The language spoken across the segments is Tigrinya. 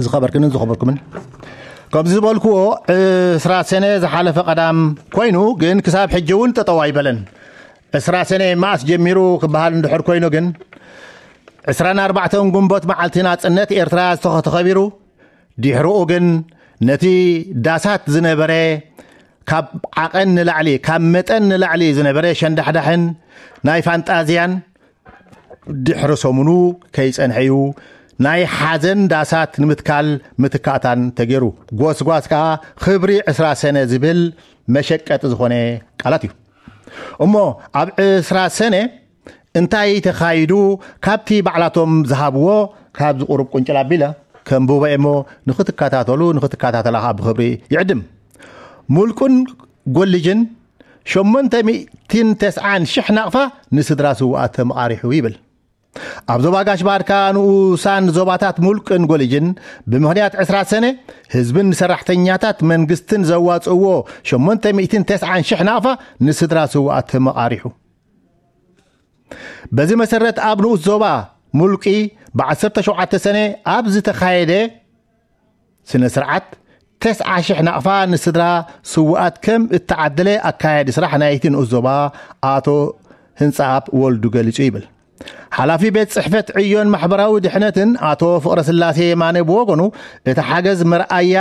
ዝኸበርክንን ዝኸበርኩምን፣ ከምዚ ዝበልክዎ ዕስራ ሰነ ዝሓለፈ ቀዳም ኮይኑ፣ ግን ክሳብ ሕጂ እውን ጠጠው ኣይበለን። ዕስራ ሰነ መኣስ ጀሚሩ ክበሃል እንድሕር ኮይኑ ግን፣ ዕስራን ኣርባዕተን ግንቦት መዓልቲ ናጽነት ኤርትራ ዝተኸ- ተኸቢሩ። ድሕርኡ ግን ነቲ ዳሳት ዝነበረ፣ ካብ ዓቐን ንላዕሊ፣ ካብ መጠን ንላዕሊ ዝነበረ ሸንዳሕዳሕን ናይ ፋንጣዝያን ድሕሪ ሰሙኑ ከይጸንሐ እዩ ናይ ሓዘን ዳሳት ንምትካል ምትካእታን ተገይሩ። ጎስጓስ ከኣ ክብሪ ዕስራ ሰነ ዝብል መሸቀጢ ዝኾነ ቃላት እዩ። እሞ ኣብ ዕስራ ሰነ እንታይ ተኻይዱ? ካብቲ ባዕላቶም ዝሃብዎ ካብዚ ቁሩብ ቁንጭል ኣቢለ ከንብቦ እሞ ንኽትከታተሉ፣ ንኽትከታተላ ከኣ ብኽብሪ ይዕድም። ሙልቁን ጎልጅን ሸሞንተ ሚእትን ተስዓን ሽሕ ናቕፋ ንስድራ ስውኣት ተመቓሪሑ ይብል። ኣብ ዞባ ጋሽ ባርካ ንኡሳን ዞባታት ሙልቅን ጎልጅን ብምኽንያት ዕስራ ሰነ ህዝብን ሰራሕተኛታት መንግስትን ዘዋጽእዎ ሸሞንተ ሚእትን ተስዓን ሽሕ ናቕፋ ንስድራ ስውኣት ተመቓሪሑ። በዚ መሰረት ኣብ ንኡስ ዞባ ሙልቂ ብ ዓሰርተ ሸውዓተ ሰነ ኣብ ዝተኻየደ ስነ ስርዓት ተስዓ ሽሕ ናቕፋ ንስድራ ስውኣት ከም እተዓደለ ኣካያዲ ስራሕ ናይቲ ንኡስ ዞባ ኣቶ ህንጻኣብ ወልዱ ገሊጹ ይብል። ሓላፊ ቤት ጽሕፈት ዕዮን ማሕበራዊ ድሕነትን ኣቶ ፍቕረስላሴ የማነ ብወገኑ፣ እቲ ሓገዝ መርኣያ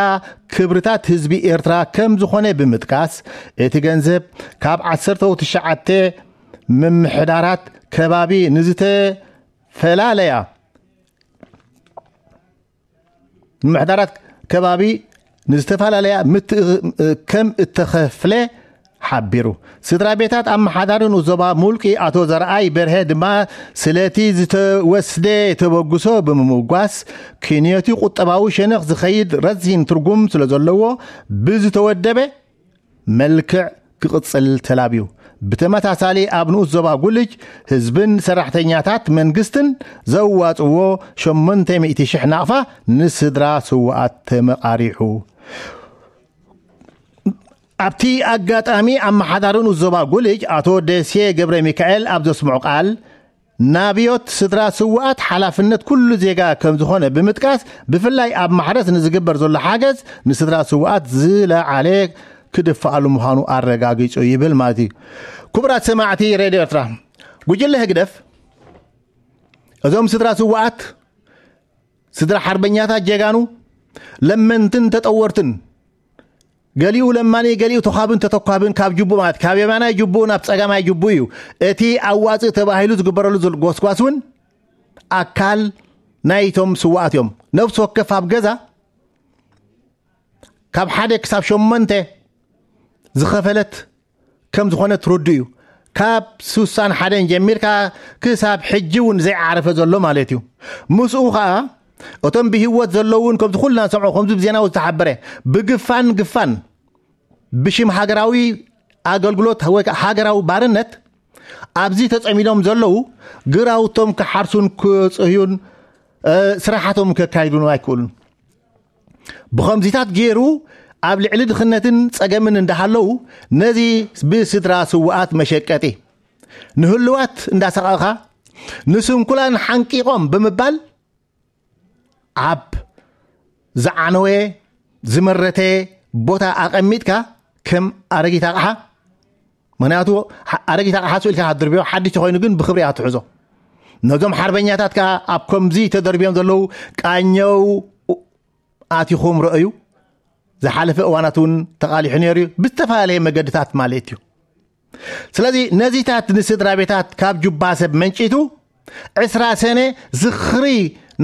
ክብርታት ህዝቢ ኤርትራ ከም ዝኾነ ብምጥቃስ፣ እቲ ገንዘብ ካብ ዓሰርተ ትሽዓተ ምምሕዳራት ከባቢ ንዝተፈላለያ ምምሕዳራት ከባቢ ንዝተፈላለያ ምት- ከም እተኸፍለ ሓቢሩ። ስድራ ቤታት ኣመሓዳሪ ንኡስ ዞባ ሙልቂ ኣቶ ዘርኣይ በርሀ ድማ ስለቲ ዝተወስደ ተበግሶ ብምምጓስ፣ ክንዮቲ ቁጠባዊ ሸነኽ ዝኸይድ ረዚን ትርጉም ስለ ዘለዎ ብዝተወደበ መልክዕ ክቕጽል ተላብዩ። ብተመሳሳሊ ኣብ ንኡስ ዞባ ጉልጅ ህዝብን ሰራሕተኛታት መንግስትን ዘዋጽዎ ሸሞንተ ሚእቲ ሽሕ ናቕፋ ንስድራ ስውኣት ተመቓሪሑ። ኣብቲ ኣጋጣሚ ኣመሓዳሪ ንኡስ ዞባ ጉልጅ ኣቶ ደሴ ገብረ ሚካኤል ኣብ ዘስምዑ ቃል፣ ናብዮት ስድራ ስውኣት ሓላፍነት ኩሉ ዜጋ ከም ዝኾነ ብምጥቃስ፣ ብፍላይ ኣብ ማሕረስ ንዝግበር ዘሎ ሓገዝ ንስድራ ስውኣት ዝለዓለ ክድፍኣሉ ምዃኑ ኣረጋጊጹ ይብል ማለት እዩ። ክቡራት ሰማዕቲ ሬድዮ ኤርትራ፣ ጉጅለ ህግደፍ እዞም ስድራ ስውኣት፣ ስድራ ሓርበኛታት ጀጋኑ፣ ለመንትን ተጠወርትን፣ ገሊኡ ለማኒ፣ ገሊኡ ተኳብን ተተኳብን፣ ካብ ጅቡእ ማለት ካብ የማናይ ጅቡእ ናብ ጸጋማይ ጅቡእ እዩ። እቲ ኣዋጽእ ተባሂሉ ዝግበረሉ ዘሎ ጎስጓስ እውን ኣካል ናይቶም ስውኣት እዮም። ነፍሲ ወከፍ ኣብ ገዛ ካብ ሓደ ክሳብ ሸሞንተ ዝኸፈለት ከም ዝኾነ ትርዱ እዩ። ካብ ስሳን ሓደን ጀሚርካ ክሳብ ሕጂ እውን ዘይዓረፈ ዘሎ ማለት እዩ። ምስኡ ኸኣ እቶም ብህይወት ዘለውን ከምዚ ኩልና ንሰምዖ፣ ከምዚ ብዜና ዝተሓበረ፣ ብግፋን ግፋን ብሽም ሃገራዊ ኣገልግሎት ወይ ከዓ ሃገራዊ ባርነት ኣብዚ ተጸሚዶም ዘለዉ ግራውቶም ክሓርሱን ክጽህዩን፣ እ፣ ስራሓቶም ከካይዱን ኣይክእሉን። ብኸምዚታት ገይሩ ኣብ ልዕሊ ድኽነትን ጸገምን እንዳሃለዉ ነዚ ብስድራ ስውኣት መሸቀጢ ንህልዋት እንዳሰቐኻ ንስንኩላን ሓንቂቖም ብምባል ኣብ ዝዓነወ ዝመረተ ቦታ ኣቐሚጥካ ከም ኣረጊት ኣቕሓ፣ ምኽንያቱ ሓ-፣ ኣረጊት ኣቕሓ ስኢልካ ክትድርብዮ ሓድሽ ተኾይኑ ግን ብኽብሪ እያ ትሕዞ። ነዞም ሓርበኛታት ከኣ ኣብ ከምዚ ተደርብዮም ዘለዉ ቃኘው ኣቲኹም ረእዩ። ዝሓለፈ እዋናት እውን ተቓሊሑ ነይሩ እዩ፣ ብዝተፈላለየ መገድታት ማለት እዩ። ስለዚ ነዚታት ንስድራ ቤታት ካብ ጁባ ሰብ መንጪቱ ዕስራ ሰነ ዝኽሪ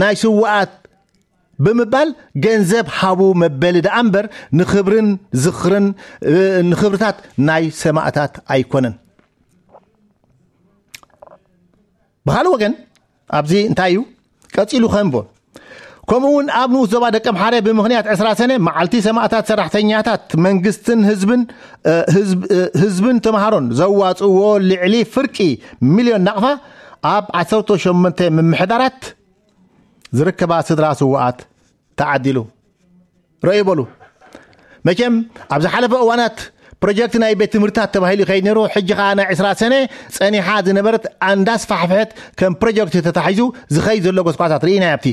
ናይ ስውኣት ብምባል ገንዘብ ሃቡ መበሊ ደኣ እምበር ንኽብርን ዝኽርን፣ እ፣ ንኽብርታት ናይ ሰማእታት ኣይኮነን። ብኻልእ ወገን ኣብዚ እንታይ እዩ ቀጺሉ ከንቦ? ከምኡ እውን ኣብ ንኡስ ዞባ ደቀምሓረ ብምኽንያት ዕስራ ሰነ መዓልቲ ሰማእታት ሰራሕተኛታት መንግስትን ህዝብን፣ እ፣ ህዝብ-፣ እ፣ ህዝብን ተምሃሮን ዘዋጽእዎ ልዕሊ ፍርቂ ሚልዮን ናቕፋ ኣብ ዓሰርተ ሸሞንተ ምምሕዳራት ዝርከባ ስድራ ስውኣት ተዓዲሉ። ረእዩ በሉ። መቸም ኣብ ዝሓለፈ እዋናት ፕሮጀክት ናይ ቤት ትምህርትታት ተባሂሉ ይኸይድ ነይሩ። ሕጂ ኸኣ ናይ ዕስራ ሰነ ጸኒሓ ዝነበረት ኣንዳስፋሕፍሐት ከም ፕሮጀክት ተታሒዙ ዝኸይድ ዘሎ ጎስቋሳት ርኢና ኣብቲ።